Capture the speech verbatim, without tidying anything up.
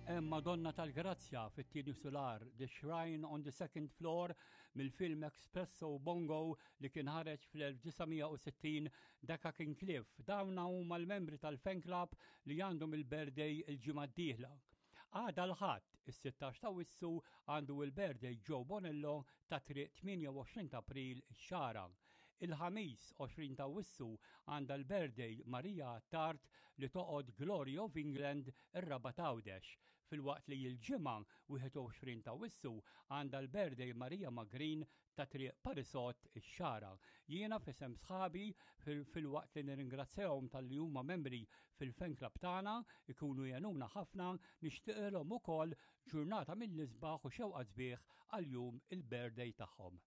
Hemm Madonna tal-Grazzja fit-tieni sular, The Shrine on the Second Floor, mill-film Espresso Bongo li kien ħareġ fl-elf disa' mija u sittin, daka kien Cliff. Dawna huma l-membri tal-fan club li għandhom il-birthday il-ġimgħa d-dieħla. Għada l-Ħadd, is-sittax ta' Awwissu, għandu il-birthday Joe Bonello ta' Triq tmienja u għoxrin ta' April, Xagħra. Il-Ħamis għoxrin ta' Awwissu għandha l-birthday Maria Tart li toqgħod Glory of England, ir-Rabat, Għawdex. Filwaqt li l-Ġimgħa wieħed u għoxrin ta' Awwissu għandha l-birthday Maria Magrin ta' Triq Parisot, ix-Xagħra. Jiena f'isem sħabi, filwaqt li nirringrazzjahom talli huma membri fil-fan club tagħna, ikunu jgħinuna ħafna, nixtieqilhom ukoll ġurnata mill-isbaħ u xewqa sbieħ għal jum il-birthday tagħhom.